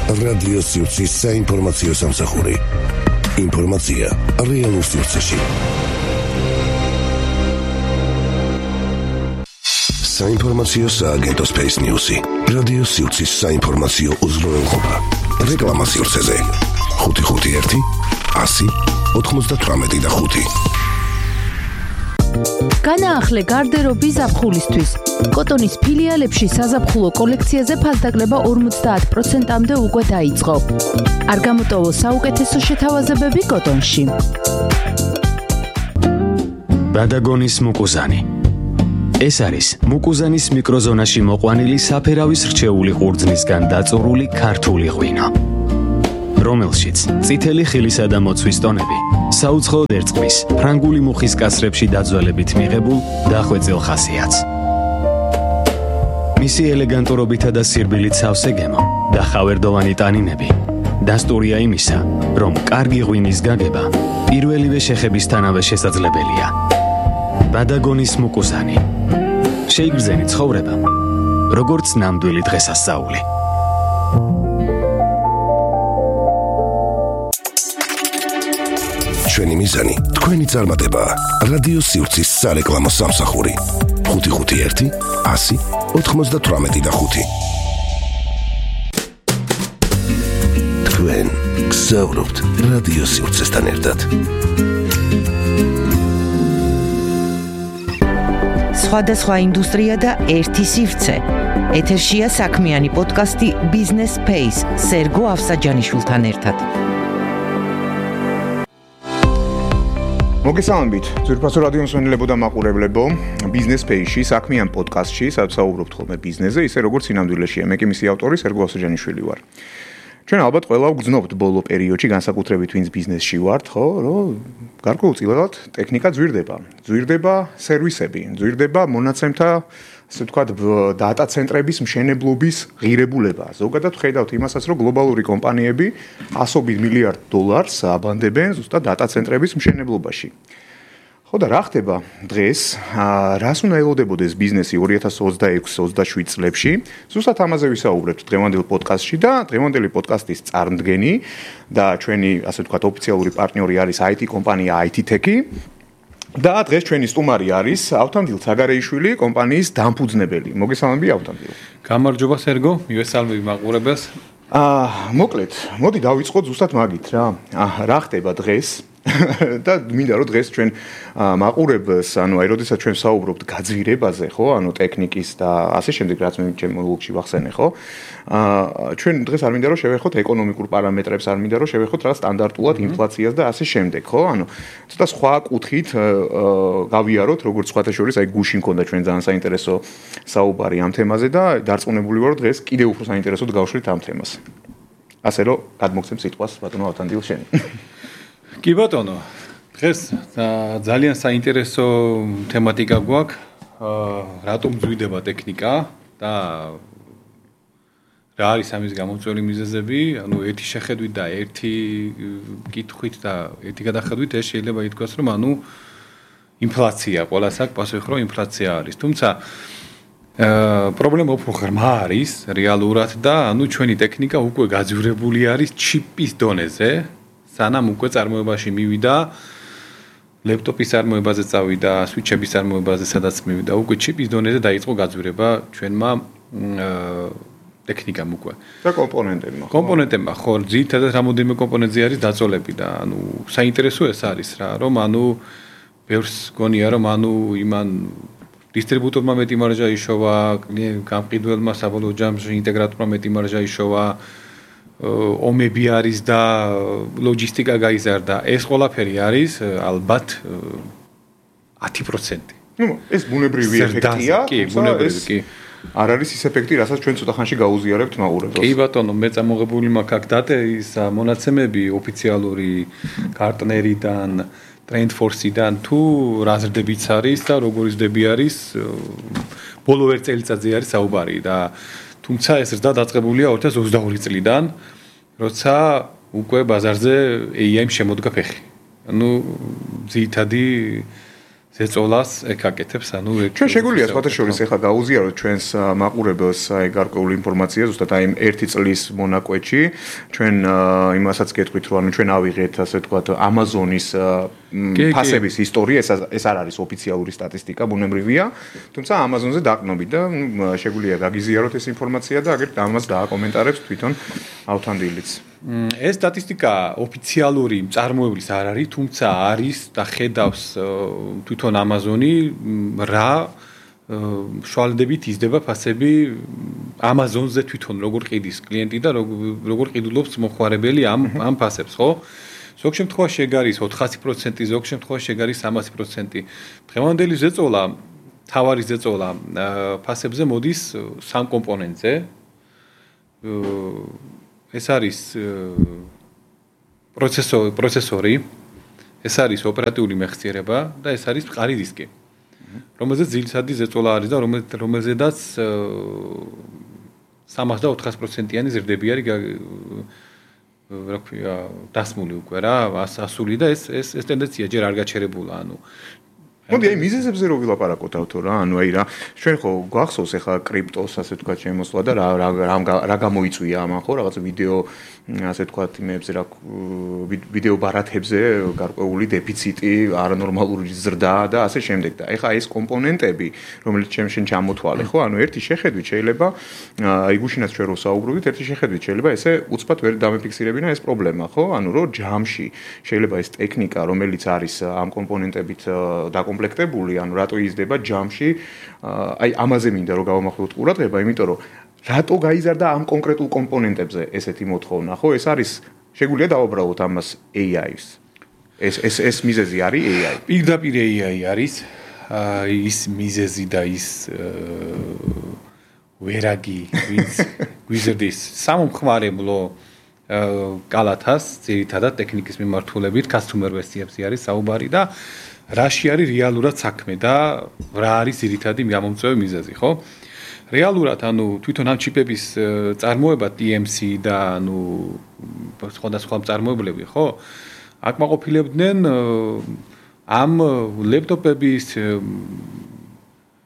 რადიო სივრცის საინფორმაციო სამსახური. ინფორმაცია რეალურ სივრცეში. საინფორმაციო სააგენტო Space News-ი. რადიო სივრცის საინფორმაციო უზრუნველყოფა. რეკლამა სივრცეზე. 551 100 98 განაახლე გარდერობის ზაფხულისთვის. კოტონის ფილიალებში საზაფხულო კოლექციაზე ფასდაკლება 50%-მდე უკვე დაიწყო. არ გამოტოვო საუკეთესო შეთავაზებები კოტონში. ბადაგონის მუკუზანი. ეს არის მუკუზანის მიკროზონაში მოყვანილი საფერავის რჩეული ყურძნისგან დაწურული ქართული ღვინო, რომელშიც წითელი ხილისა და მოცვის ტონები საუცხოოდ ერწყმის ფრანგული მუხის კასრებში დაძველებით მიღებულ დახვეწილ ხასიათს. მისი ელეგანტურობითა და სირბილით სავსე გემო და ხავერდოვანი ტანინები დასტურია იმისა, რომ კარგი ღვინის გაგება პირველივე შეხებისთანავე შესაძლებელია. ბადაგონის მუკუზანი. შეიგრძენი ცხოვრება, როგორც ნამდვილი დღესასწაული. ჩვენი მიზანი, თქვენი წარმატება. რადიო სივრცის სარეკლამო სამსახური. 551 100 98 თქვენ გსაუბრობთ რადიო სივრცესთან ერთად. სხვადასხვა ინდუსტრია და ერთი სივრცე. ეთერშია საქმიანი პოდკასტი Business Space სერგო ავსაჯანიშვილთან ერთად. მოგესალმებით, ძვირფასო რადიო მსმენელებო და მაყურებლებო, Business Space-ში საქმიან პოდკასტში, სადაც საუბრობთ ხოლმე ბიზნესზე, ისე როგორც სინამდვილეშია. მე კი მისი ავტორი სერგო ავსაჯანიშვილი ვარ. ჩვენ ალბათ ყველა ვგრძნობთ ბოლო პერიოდში, განსაკუთრებით ვინც ბიზნესში ვართ, ხო, რომ გარკვეულწილად ტექნიკა ძვირდება. ძვირდება სერვისები, ძვირდება მონაცემთა, ასე ვთქვათ, დატა ცენტრების მშენებლობის ღირებულება. ზოგადად ხედავთ იმასაც, რომ გლობალური კომპანიები $100 მილიარდ აბანდებენ ზუსტად დატა ცენტრების მშენებლობაში. ხო და რა ხდება დღეს? რას უნდა ელოდებოდეს ბიზნესი 2026-27 წლებში? ზუსტად ამაზე ვისაუბრებთ დღევანდელ პოდკასტში და დღევანდელი პოდკასტის წარმდგენი და ჩვენი, ასე ვთქვათ, ოფიციალური პარტნიორი არის IT კომპანია IT-Tech-ი. და დღეს ჩვენი სტუმარი არის ავთანდილ ცაგარეიშვილი, კომპანიის დამფუძნებელი. მოგესალმები ავთანდილ. გამარჯობა სერგო, მივესალმები მაყურებელს. მოკლედ, მოდი დავიწყოთ ზუსტად მაგით რა. რა ხდება დღეს? და მინდა რომ დღეს ჩვენ მაყურებელს, ანუ აი როდესაც ჩვენ საუბრობთ გაძვირებაზე, ხო, ანუ ტექნიკის და ასე შემდეგ, რაც მე ჩემო ლოგში ვახსენე, ხო? ჩვენ დღეს არ მინდა რომ შევეხოთ ეკონომიკურ პარამეტრებს, არ მინდა რომ შევეხოთ რა სტანდარტულად ინფლაციას და ასე შემდეგ, ხო? ანუ ცოტა სხვა კუთხით გავიაროთ, როგორც სხვათა შორის, აი გუში მქონდა ჩვენ ძალიან საინტერესო საუბარი ამ თემაზე და დარწმუნებული ვარ, რომ დღეს კიდევ უფრო საინტერესოდ გავშლით ამ თემას. ასე რომ გადმოგცემ სიტყვას ბატონო ავთანდილ შენ. კი ბატონო, დღეს ძალიან საინტერესო თემატიკა გვაქვს, რატომ ძვირდება ტექნიკა და რა არის ამის გამოწვეული მიზეზები, ანუ ერთი შეხედვით და ერთი კითხვით და ერთი გადახედვით ეს შეიძლება ითქვას, რომ ანუ ინფლაცია, ყველას აქვს პასუხი, რომ ინფლაცია არის. თუმცა პრობლემა უფრო ღრმა არის რეალურად და ანუ ჩვენი ტექნიკა უკვე გაძვირებული არის ჩიპის დონეზე. სანამ უკვე წარმოებაში მივიდა, ლეპტოპის წარმოებაზე წავიდა, სვიჩების წარმოებაზე სადაც მივიდა, უკვე ჩიპის დონეზე დაიწყო გაძვირება ჩვენმა ტექნიკამ უკვე. და კომპონენტებმა. კომპონენტებმა, ხო, ძირითადად რამოდენიმე კომპონენტზე არის დაწოლები და ანუ საინტერესო ეს არის რა, რომ ანუ ბევრს გონია, რომ ანუ იმან დისტრიბუტორმა მეტი მარჟა იშოვა, გამყიდველმა საბოლოო ჯამში ინტეგრატორმა მეტი მარჟა იშოვა. ომები არის და ლოჯისტიკა გაიზარდა. ეს ყველაფერი არის ალბათ 10%. ნუ ეს ბუნებრივი ეფექტია, კი, ბუნებრივი, კი. არ არის ის ეფექტი, რასაც ჩვენ ცოტა ხანში გაუზიარებთ მაყურებელს. კი ბატონო, მე წამოღებული მაქვს აქ დატეის მონაცემები ოფიციალური პარტნერიდან, TrendForce-დან თუ რა ზრდებიც არის და როგორი ზრდები არის, ბოლო ერთ წელიწადზე არის საუბარი და თუმცა ეს ზრდა დაწყებულია 2022 წლიდან, როცა უკვე ბაზარზე AI-მ შემოდგა ფეხი. ანუ ძირითადი ზეწოლას ეკაკეთებს, ანუ ჩვენ შეგვიძლია სხვათა შორის ახლა გაუზიაროთ ჩვენს მაყურებელს აი გარკვეული ინფორმაცია ზუსტად აი 1 წლის მონაკვეთში ჩვენ იმასაც გეტყვით რომ ანუ ჩვენ ავიღეთ ასე ვთქვათ Amazon-ის ფასების ისტორია ეს არ არის ოფიციალური სტატისტიკა ბუნებრივია თუმცა Amazon-ზე დაყნობით და შეგვიძლია გაგიზიაროთ ეს ინფორმაცია და აგერ ამას დააკომენტარებს თვითონ ავთანდილიც ეს სტატისტიკა ოფიციალური წარმოებლის არ არის, თუმცა არის და ხედავს თვითონ Amazon-ი რა შვალდებით იზრდება ფასები Amazon-ზე თვითონ როგორ ყიდის კლიენტი და როგორ ყიდულობს მოხმარებელი ამ ფასებს, ხო? ზოგ შემთხვევაში ეგ არის 400%, ზოგ შემთხვევაში ეგ არის 300%. დღევანდელი ზეწოლა, თავარი ზეწოლა ფასებზე მოდის 3 კომპონენტზე. ეს არის პროცესორი, ეს არის ოპერატიული მეხსიერება და ეს არის მყარი დისკი. რომელზეც ძილსადი ზეწოლა არის და რომელზედაც 300-400%-იანი ზრდები არის რა ქვია დასმული უკვე რა, ასული და ეს ტენდენცია ჯერ არ გაჩერებულა, ანუ მოდი აი მიზეზებზე რო ვილაპარაკოთ ავთო რა, ანუ აი რა ჩვენ ხო გვახსოვს ახლა კრიპტოს ასე ვთქვათ შემოსვლა და რა გამოიწვია ამან ხო რაღაც ვიდეო ასე ვთქვათ იმებზე რა ვიდეო ბარათებზე გარკვეული დეფიციტი, არანორმალური ზრდა და ასე შემდეგ და ეხლა ეს კომპონენტები რომელიც შენ ჩამოთვალე ხო, ანუ ერთი შეხედვით შეიძლება აი გუშინაც ჩვენ რო საუბრობთ, ერთი შეხედვით შეიძლება ესე უცბად ვერ დამეფიქსირებინა ეს პრობლემა ხო, ანუ რომ ჯამში შეიძლება ეს ტექნიკა რომელიც არის ამ კომპონენტებით დაკომპლექტებული, ანუ რატო იზრდება ჯამში, აი ამაზე მინდა რომ გავამახვილოთ ყურადღება, იმიტომ რომ რატო გაიზარდა ამ კონკრეტულ კომპონენტებზე ესეთი მოთხოვნა, ხო? ეს არის შეგვიძლია დავაბრალოთ ამას AI-ს. ეს მიზეზი არის AI. პირდაპირ AI არის ის მიზეზი და ის ვერაგი ვინც გვიზრდის სამომხმარებლო კალათას, ძირითადად ტექნიკის მიმართულებით customer version-ზე არის საუბარი და რაში არის რეალურად საქმე და რა არის ძირითადი გამომწვევი მიზეზი, ხო? რეალურად, ანუ თვითონ ამ ჩიპების წარმოება TMC და ანუ სხვადასხვა წარმოებლები, ხო? აკმაყოფილებდნენ ამ ლეპტოპების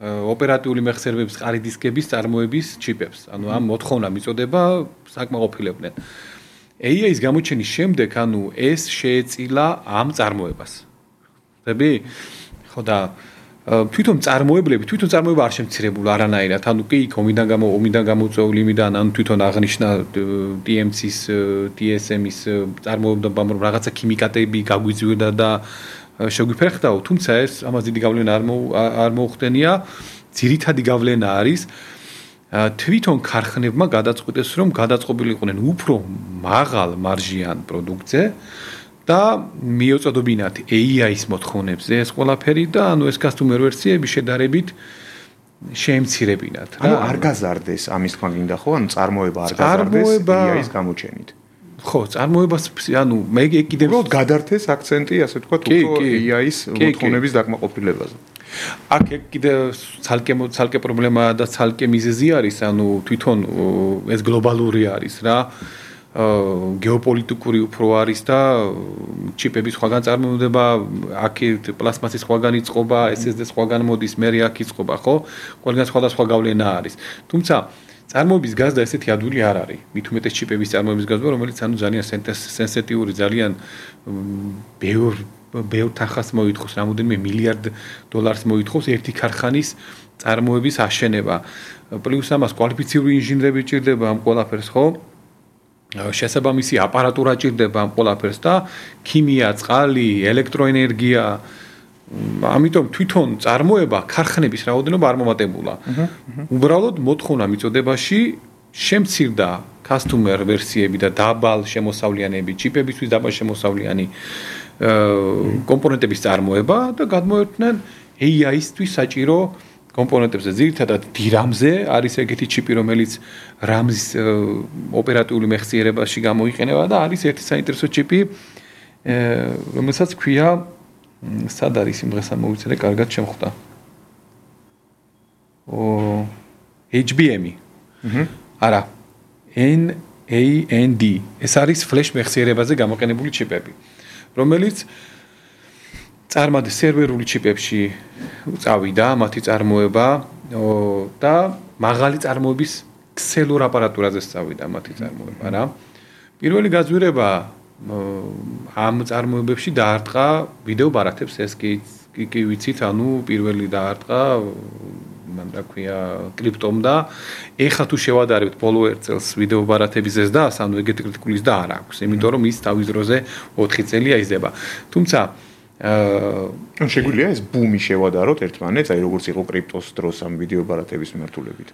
ოპერატიული მეხსიერებების ყარი დისკების წარმოების ჩიპებს. ანუ ამ მოთხოვნა მიწოდება საკმაყოფილებდნენ. AI-ის გამოჩენის შემდეგ, ანუ ეს შეეწილა ამ წარმოებას. ხდები? ხო და თვითონ წარმოება არ შემცირებულა არანაირად. ანუ კი ომიდან გამოწვეული იმიდან, ანუ თვითონ აღნიშნა TMC-ის, TSM-ის წარმოებამ რომ რაღაცა ქიმიკატები გაგვიძვირდა და შეგვიფერხდაო, თუმცა ეს ამას დიდი გავლენა არ მოუხდენია. ძირითადი გავლენა არის თვითონ ქარხნებმა გადაწყვიტეს, რომ გადაწყობილიყვნენ უფრო მაღალ მარჟიან პროდუქტზე და მიეწოდებინათ AI-ის მოთხოვნებზე ეს ყველაფერი და ანუ ეს customer version-ები შედარებით შეემცირებინათ რა. ანუ არ გაზარდეს ამის თქვა გინდა ხო? ანუ წარმოება არ გაზარდეს AI-ის გამოჩენით. ხო, წარმოებას ანუ მე კიდევ უბრალოდ გადართეს აქცენტი ასე ვთქვათ უფრო AI-ის მოთხოვნების დაკმაყოფილებაზე. აქ კიდევ ცალკე პრობლემაა და ცალკე მიზეზი არის, ანუ თვითონ ეს გლობალური არის რა. გეოპოლიტიკური უფრო არის და ჩიპების სხვაგან წარმოდება, აქ პლასმასის სხვაგან იწყობა, SSD სხვაგან მოდის, მე აქ იწყობა, ხო? ყველგან სხვადასხვა გავლენა არის. თუმცა წარმოების გაზდა ესეთი ადვილი არ არის. მით უმეტეს ჩიპების წარმოების გაზდა, რომელიც ანუ ძალიან სენსიტიური, ძალიან ბევრ თანხას მოითხოვს, რამოდენიმე მილიარდ დოლარს მოითხოვს ერთი ქარხანის წარმოების აშენება. პლუს ამას კვალიფიციური ინჟინრები ჭირდება ამ ყველაფერს, ხო? შესაბამისი აპარატურა ჭირდება ამ ყველაფერს და ქიმია, წყალი, ელექტროენერგია. ამიტომ თვითონ წარმოება ქარხნების რაოდენობა არ მომატებულა. უბრალოდ მოთხოვნა მიწოდებაში შემცირდა customer version-ები და დაბალ შემოსავლიანები, ჩიპებისთვის დაბალ შემოსავლიანი კომპონენტების წარმოება და გადმოერთნენ AI-ისთვის საჭირო კომპონენტებზე, ძირითადად DRAM-ზე არის ეგეთი ჩიპი, რომელიც RAM-ის ოპერატიული მეხსიერებაში გამოიყენება და არის ერთი საინტერესო ჩიპი, რომელსაც ქვია სად არის იმ დღეს ამოვიცადე, კარგად შემხვდა. HBM-ი. არა. NAND. ეს არის ფლეშ მეხსიერებაზე გამოყენებული ჩიპები, რომელიც წარმატე სერვერული ჩიპებში წავიდა მათი წარმოება და მაღალი წარმოების ქსელურ აპარატურაზე წავიდა მათი წარმოება რა. პირველი გაძვირება ამ წარმოებებში დაარტყა ვიდეო ბარათებს ეს კი ვიცით, ანუ პირველი დაარტყა მან რა ქვია კრიპტომ და ეხლა თუ შევადარებთ ბოლო ერთ წელს ვიდეო ბარათების ზრდას, ანუ ეგეთი კრიტიკულის და არ აქვს, იმიტომ რომ ის თავის დროზე 4 წელია იზრდება. თუმცა შეგვიძლია ეს ბუმი შევადაროთ ერთმანეთს, აი როგორც იყო კრიპტოს დროს ამ ვიდეო ბარათების მიმართულებით.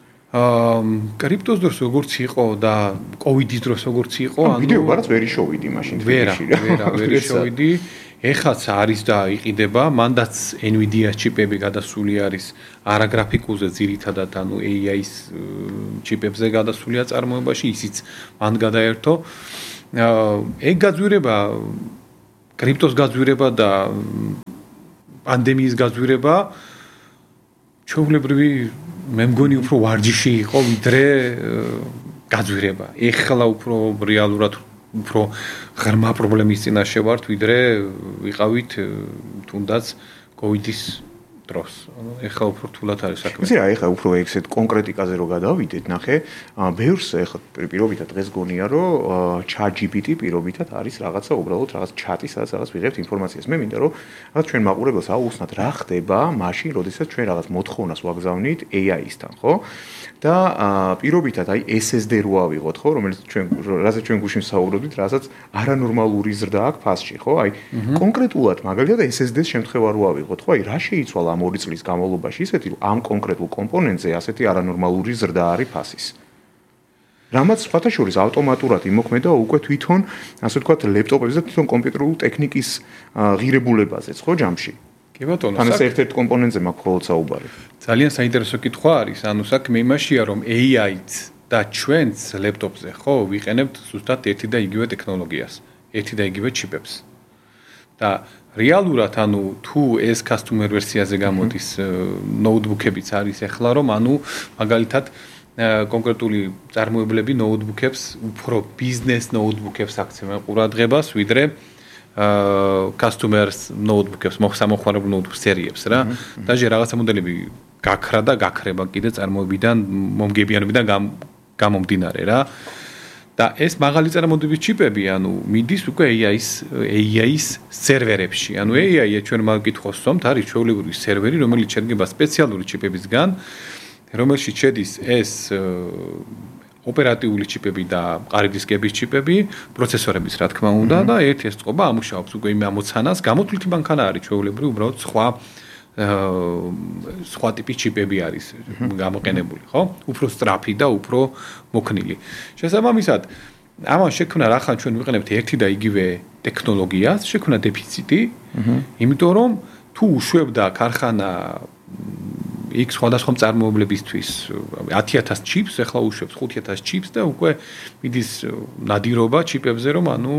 კრიპტოს დროს როგორც იყო და კოვიდის დროს როგორც იყო, ანუ ვიდეო ბარათს ვერ შოვიდი მაშინ თბილისში. ვერ შოვიდი. ეხაც არის და იყიდება, მანდაც Nvidia ჩიპები გადასული არის არაგრაფიკულზე ძირითადად, ანუ AI-ის ჩიპებზე გადასულია წარმოებაში, ისიც მან გადაერთო. ეგ გაძვირება კრიპტოს გაძვირება და პანდემიის გაძვირება ჩვეულებრივი მე მგონი უფრო ვარჯიში იყო ვიდრე გაძვირება. ეხლა უფრო რეალურად უფრო ღრმა პრობლემის წინაშე ვართ ვიდრე ვიყავით თუნდაც კოვიდის დროს. ეხლა უფრო რთულად არის საქმე. იცი რა, ეხლა უფრო ეგეთ კონკრეტიკაზე რო გადავიდეთ, ნახე, ბევრს ეხლა პირობითად დღეს გონია, რომ ChatGPT პირობითად არის რაღაცა უბრალოდ რაღაც ჩატი, სადაც რაღაც ვიღებთ ინფორმაციას. მე მინდა რომ რაღაც ჩვენ მაყურებელს აუხსნათ რა ხდება მაშინ, როდესაც ჩვენ რაღაც მოთხოვნას ვაგზავნით AI-ისთან, ხო? და პირობითად აი SSD რო ავიღოთ, ხო, რომელიც რასაც ჩვენ გუშინ საუბრობდით, რასაც არანორმალური ზრდა აქვს ფასში, ხო? აი კონკრეტულად მაგალითად SSD-ს შემთხვევა რო ავიღოთ, ხო? აი რა შეიცვალა ამ 2 წლის განმავლობაში ისეთი, რომ ამ კონკრეტულ კომპონენტზე ასეთი არანორმალური ზრდა არის ფასის. რამაც სხვათა შორის ავტომატურად იმოქმედა უკვე თვითონ, ასე ვთქვათ, ლეპტოპებზე და თვითონ კომპიუტერულ ტექნიკის ღირებულებაზეც, ხო, ჯამში. კი ბატონო, ან ეს ერთ-ერთ კომპონენტზე მაქვს ხოლმე საუბარი. ძალიან საინტერესო კითხვა არის, ანუ საქმე იმაშია, რომ AI-ც და ჩვენც ლეპტოპზე, ხო, ვიყენებთ ზუსტად ერთი და იგივე ტექნოლოგიას, ერთი და იგივე ჩიპებს. და რეალურად, ანუ თუ ეს customer ვერსიაზე გამოდის ნოუთბუქებიც არის ახლა, რომ ანუ მაგალითად კონკრეტული წარმოებლები ნოუთბუქებს, უფრო ბიზნეს ნოუთბუქებს აქცევენ ყურადღებას, ვიდრე customers notebook-ებს, სამოხმარებლო notebook სერიებს რა. და რაღაცა მოდელები გაქრა და გაქრება კიდე წარმოებიდან, მომგებიანობიდან გამომდინარე რა. და ეს მაღალი წარმოების ჩიპები, ანუ მიდის უკვე AI-ის სერვერებში. ანუ AI-ია ჩვენ მაგკითხავს ვსვამთ, არის ჩვეულებრივი სერვერი, რომელიც შედგება სპეციალური ჩიპებისგან, რომელშიც შედის ეს ოპერატიული ჩიპები და მყარი დისკების ჩიპები, პროცესორების რა თქმა უნდა და ერთ-ერთ წყობა ამუშავებს უკვე იმ ამოცანას, გამოთვლითი მანქანა არის ჩვეულებრივი, უბრალოდ სხვა ტიპის ჩიპები არის გამოყენებული, ხო? უფრო სწრაფი და უფრო მოქნილი. შესაბამისად, ამან შექმნა რახან ჩვენ ვიყენებთ ერთი და იგივე ტექნოლოგიას, შექმნა დეფიციტი, იმიტომ რომ თუ უშვებდა ქარხანა იქ სხვადასხვა წარმოებლებისთვის 10000 ჩიპს, ახლა უშვებს 5000 ჩიპს და უკვე მიდის ნადირობა ჩიპებზე, რომ ანუ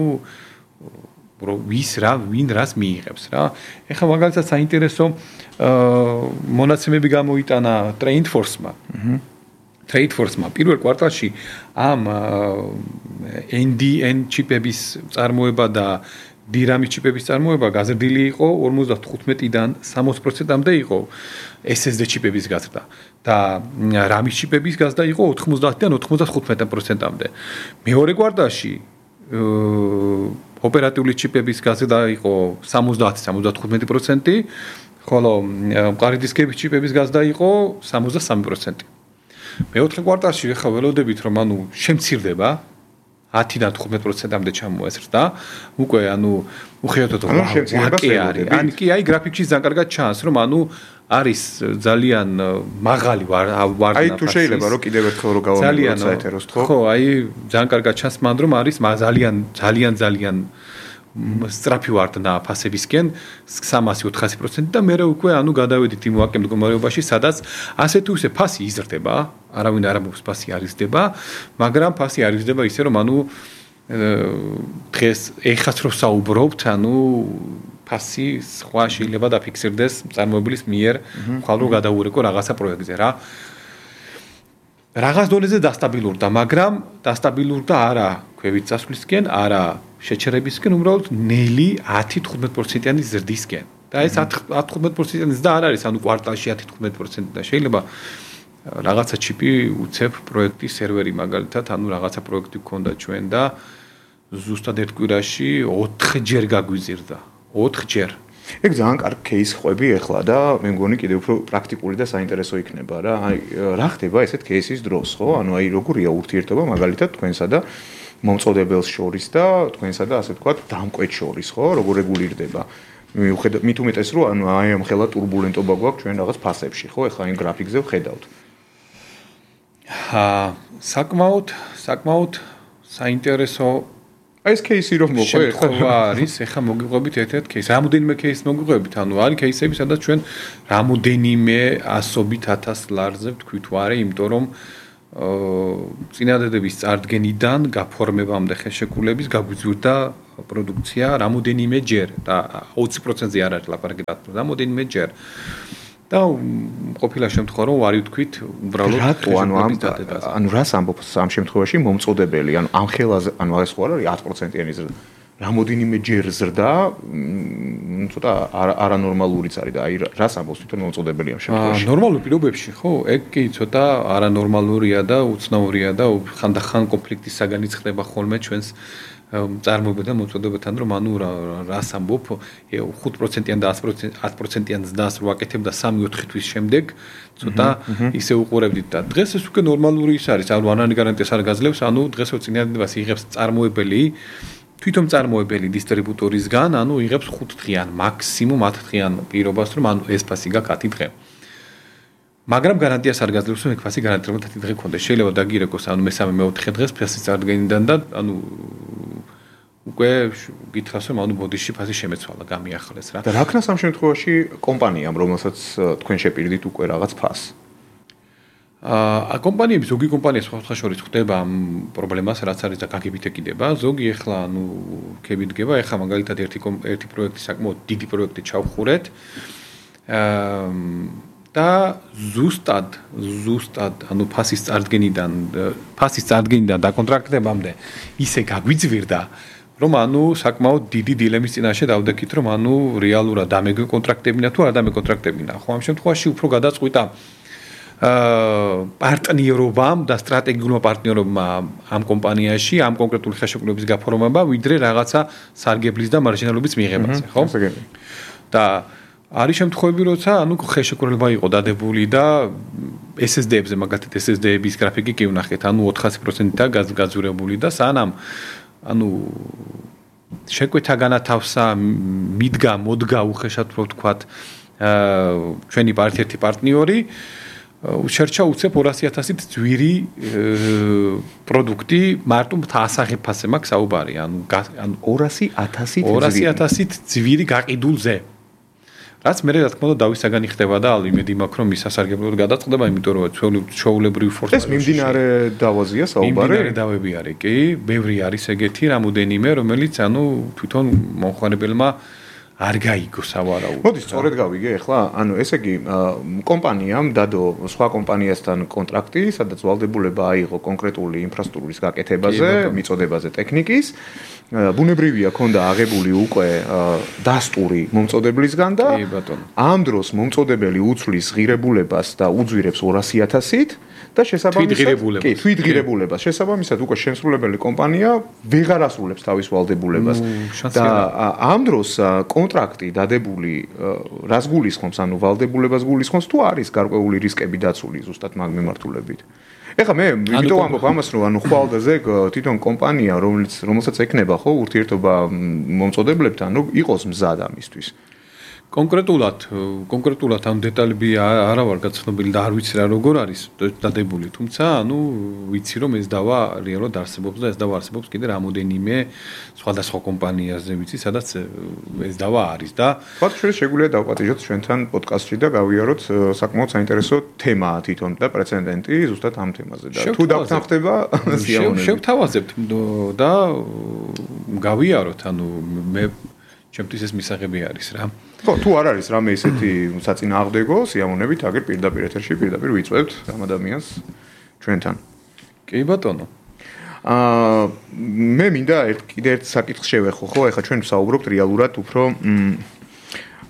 ვინ რას მიიღებს რა. ახლა მაგალითად საინტერესო მონაცემები გამოიტანა TradeForce-მა. TradeForce-მა პირველ კვარტალში ამ NDN ჩიპების წარმოება და DRAM-ის ჩიპების წარმოება გაზრდილი იყო 55-დან 60%-მდე იყო SSD ჩიპების გაზრდა და RAM-ის ჩიპების გაზრდა იყო 90-დან 95%-მდე. მეორე კვარტალში ოპერატიული ჩიპების გაზრდა იყო 70-75%, ხოლო მყარი დისკების ჩიპების გაზრდა იყო 63%. მეოთხე კვარტალში ახლა ველოდებით რომ ანუ შემცირდება 10-დან 15%-მდე ჩამოესრდა. უკვე ანუ უხეშად არის. ან კი აი გრაფიკში ძალიან კარგად ჩანს, რომ ანუ არის ძალიან მაღალი ვარდნა. აი თუ შეიძლება რომ კიდევ ერთხელ რო გავამეოროთ საეთეროს ხო? ხო, აი ძალიან კარგად ჩანს მან რომ არის ძალიან სწრაფი ვარდნა ფასებისკენ 300-400% და მე უკვე ანუ გადავედით იმ ვაკემ მდგომარეობაში, სადაც ასე თუ ისე ფასი იზრდება, არავინ არ ამბობს ფასი არ იზრდება, მაგრამ ფასი არ იზრდება ისე რომ ანუ დღეს ეხაც რო საუბრობთ, ანუ ფასი სხვა შეიძლება დაფიქსირდეს წარმოებლის მიერ, ხვალ რო გადაურეკო რაღაცა პროექტზე რა. რაღაც დონეზე დასტაბილურდა, მაგრამ დასტაბილურდა არა ქვევით წასვლისკენ, არა შეჩერებისკენ, უბრალოდ ნელი 10-15%-იანი ზრდისკენ. და ეს 10-15%-იც და არ არის, ანუ კვარტალში 10-15% და შეიძლება რაღაცა ჩიპი უცებ პროექტის სერვერი მაგალითად, ანუ რაღაცა პროექტი გქონდა ჩვენ და ზუსტად ერთ კვირაში 4-ჯერ გაგვიზირდა. 4-ჯერ. ეგ ძალიან კარგი кейს ხვები ახლა და მე მგონი კიდევ უფრო პრაქტიკული და საინტერესო იქნება რა. აი რა ხდება ესეთ кейსის დროს, ხო? ანუ აი როგორია ურთიერთობა მაგალითად თქვენსა და მომწოდებელს შორის და თქვენსა და ასე ვთქვათ დამკვეთ შორის, ხო? როგორ რეგულირდება? მიუხედავად მით უმეტეს რომ ანუ აი ამ ხელა турბულენტობა გვაქვს ჩვენ რაღაც ფასებში, ხო? ეხლა იმ გრაფიკზე ვხედავთ. საკმაოდ საინტერესო ეს кейსი რომ მოყვე ხო არის, ეხლა მოგიყვებით ერთ-ერთ кейს. რამოდენიმე кейს მოგიყვებით, ანუ არის кейსები, სადაც ჩვენ რამოდენიმე ასობით 1000 ლარზე ვთქვით ვარე, იმიტომ რომ წინადადების წარდგენიდან გაფორმებამდე ხელშეკრულების გაგვიზრდა პროდუქცია რამოდენიმე ჯერ და 20%-ზე არ არის ლაპარაკი, რამოდენიმე ჯერ. და ყოფილა შემთხვევა რომ ვარი ვთქვით უბრალოდ რატო ანუ რას ამბობს ამ შემთხვევაში მომწოდებელი ანუ ამ ხელაზე ანუ ეს ხო არ არის 10%-იანი ზრდა რამოდენიმე ჯერ ზრდა ცოტა არანორმალურიც არის და აი რას ამბობს თვითონ მომწოდებელი ამ შემთხვევაში ნორმალურ პირობებში ხო ეგ კი ცოტა არანორმალურია და უცნაურია და ხანდახან კონფლიქტის საგანი ხდება ხოლმე ჩვენს წარმოებიდან მოწოდებთან რომ ანუ რას ამბობ 5%-იან და 10%-იან ზნას რო აკეთებდა 3-4 თვის შემდეგ ცოტა ისე უყურებდით და დღეს ეს უკვე ნორმალური ის არის ანუ არანაირი გარანტიას არ გაძლევს ანუ დღეს წინადადებას იღებს წარმოებელი თვითონ წარმოებელი დისტრიბუტორისგან ანუ იღებს 5 დღიან მაქსიმუმ 10 დღიან პირობას რომ ანუ ეს ფასი გაქვს 10 დღე მაგრამ გარანტიას არ გაძლევს რომ ეგ ფასი გარანტირებულად 10 დღე გქონდეს შეიძლება დაგირეკოს ანუ მესამე მეოთხე დღეს ფასის წარდგენიდან და ანუ უკვე გითხრას რომ ანუ ბოდიში ფასი შემეცვალა გამიახლეს რა და რა ქნას ამ შემთხვევაში კომპანიამ რომელსაც თქვენ შეპირდით უკვე რაღაც ფასს კომპანიები ზოგი კომპანია სხვა შორის ხდება ამ პრობლემას რაც არის და გაგებით ეკიდება ზოგი ახლა ანუ ქები დგება ახლა მაგალითად ერთი პროექტი საკმაოდ დიდი პროექტი ჩავხურეთ და ზუსტად ანუ ფასის წარდგენიდან დაკონტრაქტებამდე ისე გაგვიძვირდა რომ ანუ საკმაოდ დიდი დილემის წინაშე დავდექით რომ ანუ რეალურად დამეკონტრაქტებინა თუ არ დამეკონტრაქტებინა ხო ამ შემთხვევაში უფრო გადაწყვიტა პარტნიორობამ და სტრატეგიულმა პარტნიორობამ ამ კომპანიაში ამ კონკრეტული ხელშეკრულების გაფორმება ვიდრე რაღაცა სარგებლის და მარჟინალობის მიღებაზე ხო და არის შემთხვევები როცა ანუ ხელშეკრულება იყო დადებული და SSD-ებზე მაგალითად SSD-ების გრაფიკი კი ვნახეთ ანუ 400% და გაძვირებული და სანამ ანუ შეკვეთა განათავსა მოდგა უხეშად რო ვთქვათ ჩვენი ერთ-ერთი პარტნიორი შერჩა უცებ 200,000-ით ძვირი პროდუქტი მარტო ასაღებ ფასზე მაქვს საუბარი ანუ 200,000-ით ძვირი გაყიდულზე რაც მე რა თქმა უნდა დავის საგანი ხდება და იმედი მაქვს რომ ის სასარგებლოდ გადაწყდება იმიტომ რომ ჩვეულებრივი ფორსა ეს მიმდინარე დავაზია საუბარი მიმდინარე დავები არის კი ბევრი არის ეგეთი რამოდენიმე რომელიც ანუ თვითონ მომხმარებელმა არ გაიგო სავარაუდოდ. მოდი სწორედ გავიგე ახლა, ანუ ესე იგი კომპანიამ დადო სხვა კომპანიასთან კონტრაქტი, სადაც ვალდებულება აიღო კონკრეტული ინფრასტრუქტურის გაკეთებაზე, მიწოდებაზე ტექნიკის. ბუნებრივია ქონდა აღებული უკვე დასტური მომწოებლისგან და ამ დროს მომწოდებელი უცვლის ღირებულებას და უძვირებს 200,000-ით და შესაბამისად თვითღირებულებას შესაბამისად უკვე შემსრულებელი კომპანია ვეღარ ასრულებს თავის ვალდებულებას და ამ დროს კონტრაქტი დადებული რას გულისხმობს ანუ ვალდებულებას გულისხმობს თუ არის გარკვეული რისკები დაცული ზუსტად მაგ მიმართულებით ეხლა მე ვიდეო ამბობ ამას რომ ანუ ხვალდაზე თვითონ კომპანია რომელსაც ეკნება ხო ურთიერთობა მომწოდებლებთან რომ იყოს მზად ამისთვის კონკრეტულად ამ დეტალები არა ვარ გაცნობილი და არ ვიცი რა როგორ არის დადებული თუმცა ანუ ვიცი რომ ეს დავა რეალურად არსებობს და ეს დავა არსებობს კიდე რამოდენიმე სხვადასხვა კომპანიაზე ვიცი სადაც ეს დავა არის და თქვათ შეგვიძლია დავპატიჟოთ ჩვენთან პოდკასტში და გავიაროთ საკმაოდ საინტერესო თემაა თვითონ და პრეცედენტი ზუსტად ამ თემაზე და თუ დაგთანხმდება შევთავაზებთ და გავიაროთ ანუ მე ჩემთვის ეს მისაღები არის რა. ხო, თუ არ არის რამე ისეთი საწინააღმდეგო სიამოვნებით, აგერ პირდაპირ ეთერში პირდაპირ ვიწვევთ ამ ადამიანს ჩვენთან. კი ბატონო. მე მინდა კიდე ერთ საკითხს შევეხო, ხო, ეხლა ჩვენ ვსაუბრობთ რეალურად უფრო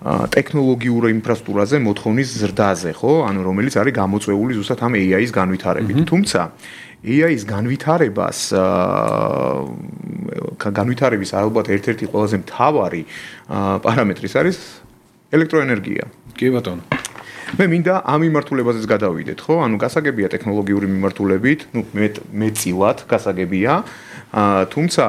ტექნოლოგიურ ინფრასტრუქტურაზე მოთხოვნის ზრდაზე, ხო? ანუ რომელიც არის გამოწვეული ზუსტად ამ AI-ის განვითარებით. თუმცა AI-ის განვითარების ალბათ ერთ-ერთი ყველაზე მთავარი პარამეტრი არის ელექტროენერგია. კი ბატონო. მე მინდა ამ მიმართულებაზეც გადავიდეთ, ხო? ანუ გასაგებია ტექნოლოგიური მიმართულებით, მეწილად გასაგებია. თუმცა,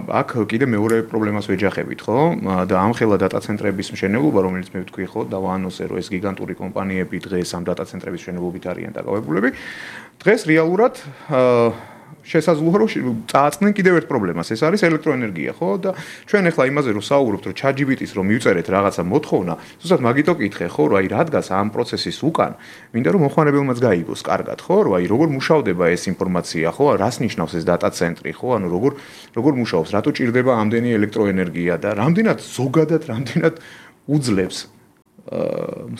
აქ კიდე მეორე პრობლემას ვეჯახებით, ხო? და ამხელა დატა ცენტრების მშენებლობა, რომელიც მე ვთქვი, ხო, დავაანონსე, რომ ეს გიგანტური კომპანიები დღეს ამ დატა ცენტრების მშენებლობით არიან დაკავებულები. დღეს რეალურად შესაძლოა რომ წააწყდნენ კიდევ ერთ პრობლემას, ეს არის ელექტროენერგია, ხო? და ჩვენ ახლა იმაზე რომ საუბრობთ, რომ ChatGPT-ს რომ მივწერეთ რაღაცა მოთხოვნა, ზუსტად მაგითო კითხე, ხო, რომ აი რადგან ამ პროცესის უკან მინდა რომ მოხმარებელმაც გაიგოს კარგად, ხო, რომ აი როგორ მუშავდება ეს ინფორმაცია, ხო, რას ნიშნავს ეს დატა ცენტრი, ხო, ანუ როგორ მუშაობს, რატო ჭირდება ამდენი ელექტროენერგია და რამდენად უძლებს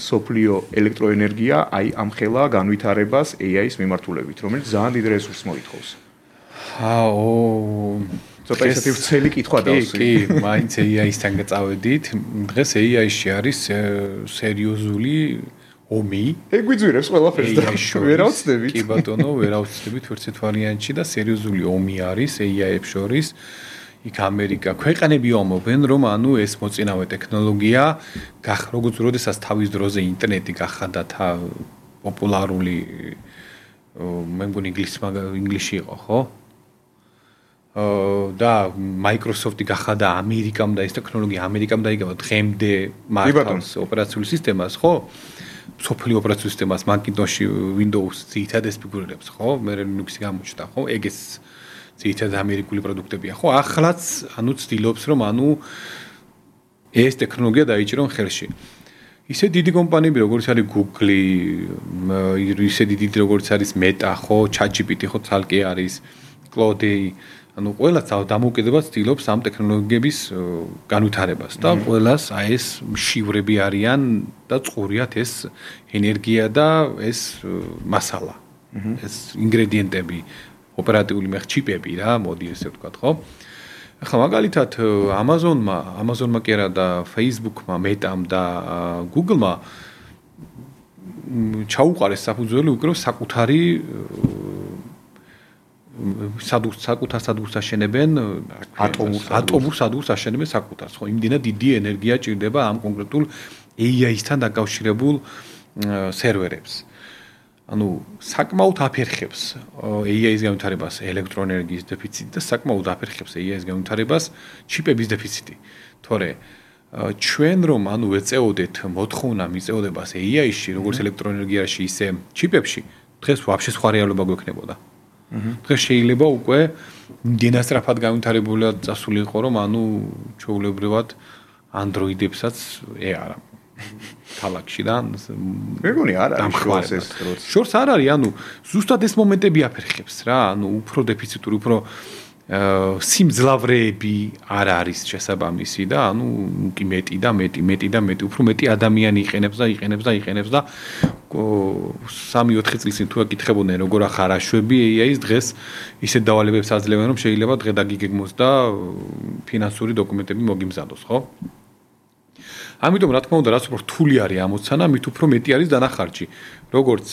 სოფლიო ელექტროენერგია აი ამ ხელა განვითარებას AI-ის მიმართულებით, რომელიც ძალიან დიდ რესურსს მოითხოვს. ცოტა ისეთი ვრცელი კითხვა დავსვი. კი, მაინც AI-ისთან გაწავედით. დღეს AI-ში არის სერიოზული ომი. ეგ გვიძვირებს ყველაფერს და ვერავცდებით. კი ბატონო, ვერავცდებით ვერცეთ ვარიანტში და სერიოზული ომი არის AI-ებს შორის. იქ ამერიკა ქვეყანები ომობენ, რომ ეს მოწინავე ტექნოლოგია როგორც როდესაც თავის დროზე ინტერნეტი გახადა პოპულარული მე მგონი ინგლისში იყო, ხო? და Microsoft-ი გახადა ამერიკამ და ეს ტექნოლოგია ამერიკამ დაიგავა დღემდე მართავს ოპერაციული სისტემას, ხო? სოფლიო ოპერაციული სისტემას Macintosh-ი, Windows-ი ძირითადად ფიგურირებს, ხო? მე Linux-ი გამოჩნდა, ხო? ეგ ძირითადად ამერიკული პროდუქტებია, ხო? ახლაც ცდილობს რომ ეს ტექნოლოგია დაიჭირონ ხელში. ისე დიდი კომპანიები როგორც არის Google, ისე დიდი როგორც არის Meta, ხო, ChatGPT, ხო, ცალკე არის Claude, ყველა დამოუკიდებლად ცდილობს ამ ტექნოლოგიების განვითარებას და ყველას ეს მშივრები არიან და წყურიათ ეს ენერგია და ეს მასალა, ეს ინგრედიენტები, ოპერატიული ჩიპები რა, მოდი ესე ვთქვათ, ხო? ახლა მაგალითად Amazon-მა კი არა და Facebook-მა, Meta-მ და Google-მა ჩაუყარეს საფუძველი უკვე საკუთარი საკუთარ სადურს აშენებენ ატომურ სადურს აშენებენ საკუთარს, ხო? იმდენად დიდი ენერგია ჭირდება ამ კონკრეტულ AI-სთან დაკავშირებულ სერვერებს. საკმაოდ აფერხებს AI-ის განვითარებას ელექტროენერგიის დეფიციტი და საკმაოდ აფერხებს AI-ის განვითარებას ჩიპების დეფიციტი. თორე ჩვენ რომ ეწეოდეთ მოთხოვნა მიწეოდებას AI-ში, როგორც ელექტროენერგიაში, ისე ჩიპებში, დღეს ვაფშე სხვა რეალობა გვექნებოდა. დღეს შეიძლება უკვე დინასტრაფად განვითარებულად წასული იყო, რომ ჩვეულებრივად Android-ებსაც არა ქალაქში და მეგონი არ არის ეს შორს არ არის, ზუსტად ეს მომენტები აფერხებს რა, უფრო დეფიციტური, უფრო სიმძლავრეები არ არის შესაბამისი და კი მეტი და უფრო მეტი ადამიანი იყენებს და 3-4 წლის წინ თუ აკითხებოდნენ როგორ ახარ აშვები AI-ის დღეს ისეთ დავალებებს აძლევენ რომ შეიძლება დღე დაგიგეგმოს და ფინანსური დოკუმენტები მოგიმზადოს, ხო? ამიტომ რა თქმა უნდა რაც უფრო რთული არის ამოცანა, მით უფრო მეტი არის დანახარჯი, როგორც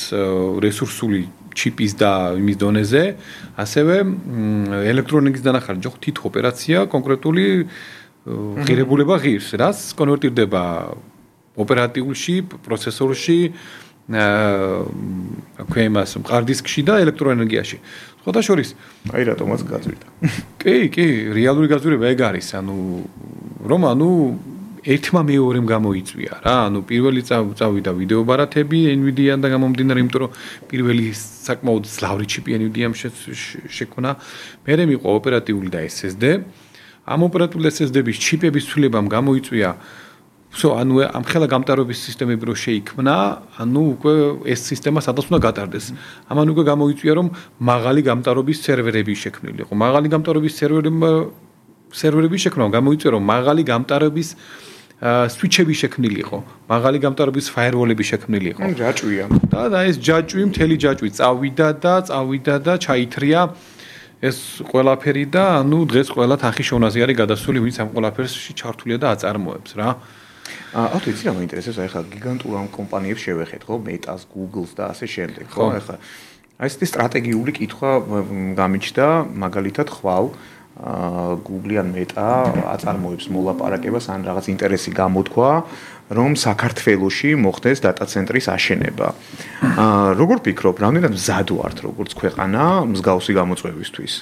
რესურსული ჩიპის და იმის დონეზე, ასევე ელექტროენერგიის დანახარჯი, ხო, თითო ოპერაცია კონკრეტული ღირებულება ღირს, რაც კონვერტირდება ოპერატიულში, პროცესორში, ქვემას მყარდისკში და ელექტროენერგიაში. სხვათა შორის, აი რატომაც გაძვირდა. კი, რეალური გაძვირება ეგ არის, რომ ერთმა მეორემ გამოიწვია რა, პირველი წავიდა ვიდეო ბარათები Nvidia-დან და გამომდინარე, იმიტომ რომ პირველი საკმაოდ ძლავრი ჩიპი Nvidia-მ შექმნა, მერე მიყვა ოპერატიული და SSD. ამ ოპერატიული SSD-ების ჩიპების ცვლილებამ გამოიწვია ამ ხელა გამტარობის სისტემები რო შეიქმნა, უკვე ეს სისტემა სადაც უნდა გატარდეს. ამან უკვე გამოიწვია რომ მაღალი გამტარობის სერვერები შექმნილი იყო. მაღალი გამტარობის სერვერები შექმნა, გამოიწვია რომ მაღალი გამტარების სვიჩები შექმნილი იყო, მაღალი გამტარობის ფაიერვოლები შექმნილი იყო. ჯაჭვია. და ეს მთელი ჯაჭვი წავიდა და ჩაითრია ეს ყველაფერი და დღეს ყველა თანხის შოვნაზე არის გადასული, ვინც ამ ყველაფერში ჩართულია და აწარმოებს რა. ავთო იცი რა მაინტერესებს, ეხლა გიგანტურ ამ კომპანიებს შევეხეთ, ხო, Meta-ს, Google-ს და ასე შემდეგ, ხო, ეხლა აი ესეთი სტრატეგიული კითხვა გამიჩნდა, მაგალითად ხვალ Google ან Meta აწარმოებს მოლაპარაკებას ან რაღაც ინტერესი გამოთქვა, რომ საქართველოში მოხდეს დატა ცენტრის აშენება. როგორ ფიქრობ, რამდენად მზად ვართ როგორც ქვეყანა მსგავსი გამოწვევისთვის?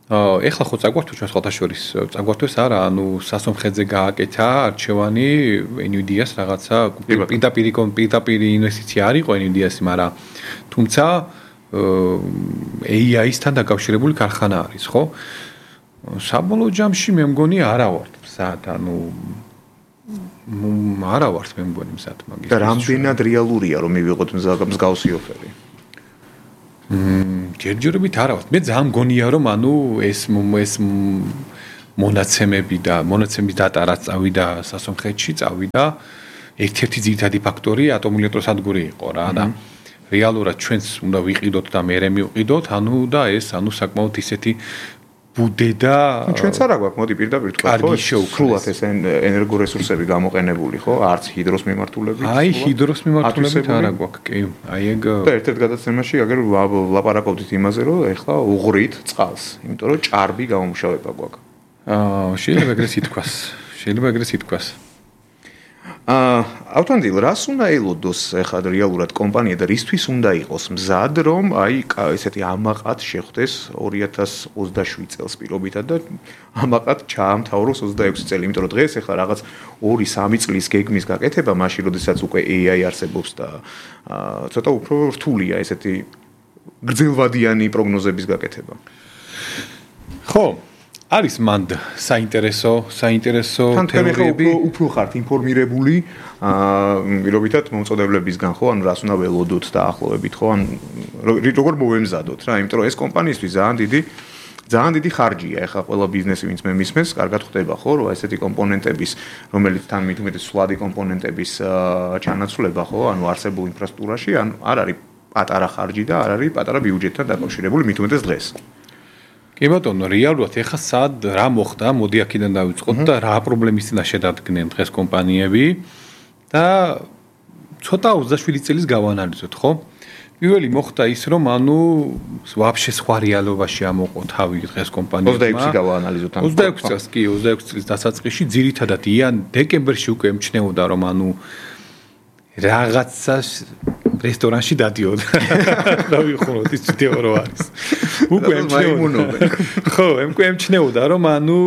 ეხლა ხო წაგვართო ჩვენ სხვათა შორის წაგვართოს არა, ანუ სასომხეთზე გააკეთა არჩევანი NVIDIA-ს რაღაცა პირდაპირ ინვესტიცია არ იყო NVIDIA-ს, მაგრამ თუმცა AI-სთან დაკავშირებული ქარხანა არის, ხო? საბოლოო ჯამში მე მგონი არა ვართ მზად, ანუ არა ვართ მე მგონი მზად მაგის. და რამდენად რეალურია რომ მივიღოთ მსგავსი ოფერი? ჯერჯერობით არა ვართ. მე ძალიან მგონია რომ ანუ ეს მონაცემების დატა რაც წავიდა სასომხეთში, წავიდა ერთ-ერთი ძირითადი ფაქტორი ატომური ელექტროსადგური იყო რა და რეალურად ჩვენს უნდა ვიყიდოთ და მერე მივყიდოთ, ანუ და ეს ანუ საკმაოდ ისეთი ბუდე და ჩვენც არა გვაქვს, მოდი პირდაპირ თქვა, ხო? სრულად ეს ენერგორესურსები გამოყენებული, ხო? არც ჰიდროს მიმართულებით. აი, ჰიდროს მიმართულებით არა გვაქვს, კი. აი ეგ და ერთ-ერთ გადაცემაში აგერ ლაპარაკობდით იმაზე, რომ ეხლა უღრით წყალს, იმიტომ რომ ჭარბი გამომუშავება გვაქვს. შეიძლება ეგრეც ითქვას. ავთანდილ, რას უნდა ელოდოს ეხლა რეალურად კომპანია და რისთვის უნდა იყოს მზად, რომ აი ესეთი ამაყად შეხვდეს 2027 წელს პირობითად და ამაყად ჩაამთავროს 26 წელი, იმიტომ რომ დღეს ეხლა რაღაც 2-3 წლის გეგმის გაკეთება, მაშინ როდესაც უკვე AI არსებობს და ცოტა უფრო რთულია ესეთი გრძელვადიანი პროგნოზების გაკეთება. ხო, არის მანდ საინტერესო თეორიები. უფრო ხართ ინფორმირებული პირობითად მომწოდებლებისგან, ხო, ანუ რას უნდა ველოდოთ და ახლოვებით, ხო, ან როგორ მოვემზადოთ რა, იმიტომ რომ ეს კომპანიისთვის ძალიან დიდი ხარჯია. ეხლა ყველა ბიზნესი ვინც მე მისმენს, კარგად ხვდება, ხო, რომ ესეთი კომპონენტების, რომელიც თან მithumetes სვლადი კომპონენტების ჩანაცვლება, ხო, ანუ არსებულ ინფრასტრუქტურაში, ან არ არის პატარა ხარჯი და არ არის პატარა ბიუჯეტთან დაკავშირებული მithumetes დღეს. კი ბატონო, რეალურად ეხა სად რა მოხდა, მოდი აქედან დავიწყოთ და რა პრობლემის წინაშე დადგნენ დღეს კომპანიები და ცოტა 27 წელის გავანალიზოთ, ხო? პირველი მოხდა ის, რომ ანუ ვაფშე სხვა რეალობაში ამოყო თავი დღეს კომპანიებმა. 26 გავაანალიზოთ ამ. 26 წელს, კი, 26 წლის დასაწყისში ძირითადად დეკემბერში უკვე ემჩნეოდა, რომ ანუ რაღაცას რესტორანში დადიოდა. დავიხუროთ ის ვიდეო რო არის. უკვე ემჩნეოდა. ხო, ემჩნეოდა, რომ ანუ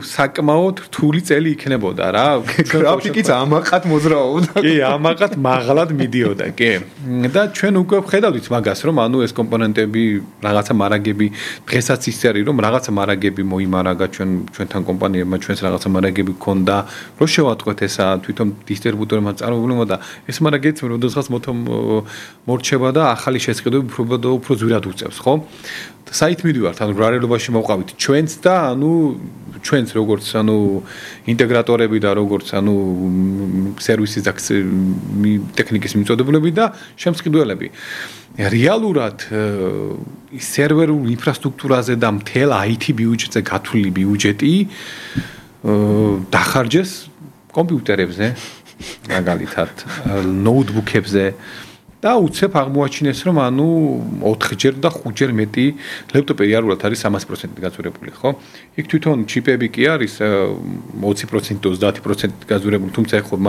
საკმაოდ რთული წელი იქნებოდა რა. გრაფიკიც ამაყად მოძრაობდა. კი, ამაყად მაღლად მიდიოდა, კი. და ჩვენ უკვე ვხედავთ მაგას, რომ ანუ ეს კომპონენტები, რაღაცა მარაგები, დღესაც ის არის, რომ რაღაცა მარაგები მოიმარაგა ჩვენთან კომპანიებმა, ჩვენს რაღაცა მარაგები გქონდა, რომ შევატყვეთ ესა თვითონ დისტრიბუტორებმა წარმოებულმა და ეს მარაგიც როდესაც მორჩება და ახალი შესყიდვები უფრო ზვირად უწევს, ხო? საით მიდივართ, ანუ ბრალელობაში მოვყავით ჩვენც და ანუ ჩვენც როგორც ანუ ინტეგრატორები და როგორც ანუ სერვისის და ტექნიკის მიმწოდებლები და შემსყიდველები. რეალურად სერვერულ ინფრასტრუქტურაზე და მთელ IT ბიუჯეტზე გათვლილი ბიუჯეტი დახარჯეს კომპიუტერებზე, მაგალითად, ნოუთბუქებზე და უცებ აღმოაჩინეს, რომ ანუ 4ჯერ და 5ჯერ მეტი ლეპტოპი რეალურად არის 300% გაზურებული, ხო? იქ თვითონ ჩიპები კი არის 20%, 30% გაზურებული, თუმცა ხო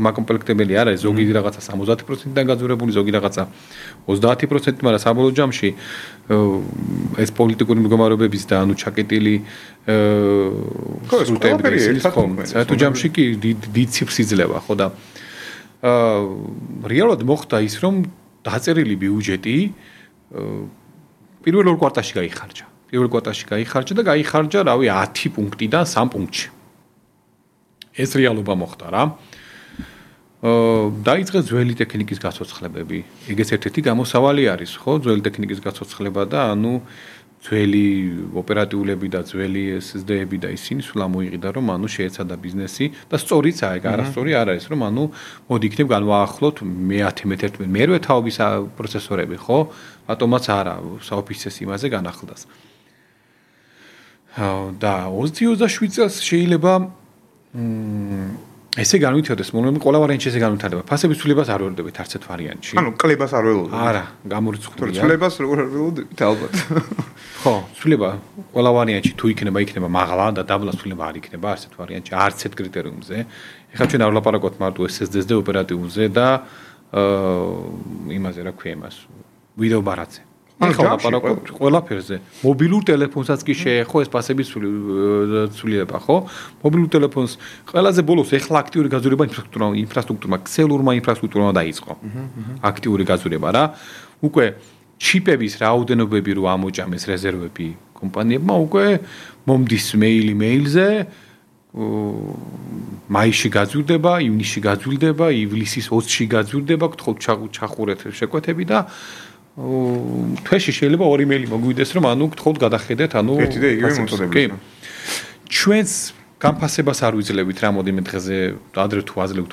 მაკომპლექტებელი არ არის, ზოგი რაღაცა 70%-დან გაზურებული, ზოგი რაღაცა 30%, მაგრამ საბოლოო ჯამში ეს პოლიტიკური მდგომარეობების და ანუ ჩაკეტილი სრუტეების ხო, საერთო ჯამში კი დიდ ციფრს იძლევა, ხო და რეალურად მოხდა ის, რომ დაწერილი ბიუჯეტი პირველ ორ კვარტალში გაიხარჯა. პირველ კვარტალში გაიხარჯა და გაიხარჯა, რავი, 10 პუნქტიდან 3 პუნქტში. ეს რეალობა მოხდა რა. დაიწყეს ძველი ტექნიკის გაცოცხლებები. ეგეც ერთ-ერთი გამოსავალი არის, ხო? ძველი ტექნიკის გაცოცხლება და ანუ ძველი ოპერატიულები და ძველი SSD-ები და ისინი სულ ამოიყიდა, რომ ანუ შეეცადა ბიზნესი და სწორიც აიგა, არასწორი არ არის, რომ ანუ მოდი იქნებ განვაახლოთ მე-11 მერვე თაობის პროცესორები, ხო? რატომაც არა, საოფისეს იმაზე განახლდას. და 27 წელს შეიძლება ესე განვითარდეს, მომდევნო ყველა ვარიანტში ესე განვითარდება. ფასების ცვლილებას არ ვერდებით არც ერთ ვარიანტში. ანუ კლებას არ ველოდებით. არა, გამორიცხულია. ცვლილებას როგორ არ ველოდებით ალბათ. ხო, ცვლილება ყველა ვარიანტში თუ იქნება მაღლა და დაბლა ცვლილება არ იქნება არც ერთ ვარიანტში, არც ერთ კრიტერიუმზე. ეხლა ჩვენ არ ვლაპარაკობთ მარტო SSD-ზე ოპერატიულზე და იმაზე რა ქვია იმას. ვიდეო ბარათზე. ეხლა ვლაპარაკობთ ყველაფერზე. მობილურ ტელეფონსაც კი შეეხო ეს ფასების ცვლილება, ხო? მობილურ ტელეფონს ყველაზე ბოლოს ეხლა აქტიური გაზრდობა ინფრასტრუქტურმა, ქსელურმა ინფრასტრუქტურმა დაიწყო. აქტიური გაზრდობა რა. უკვე ჩიპების რაოდენობები რო ამოჭამეს რეზერვები კომპანიებმა, უკვე მომდის მეილზე მაისში გაძვირდება, ივნისში გაძვირდება, ივლისის 20-ში გაძვირდება, გთხოვთ ჩახურეთ შეკვეთები და თვეში შეიძლება 2 მეილი მოგვიდეს, რომ ანუ გთხოვთ გადახედეთ, ანუ ერთი და იგივე მოწოდებით. ჩვენს განფასებას არ ვიძლევით რამოდენიმე დღეზე, ადრე თუ აძლევთ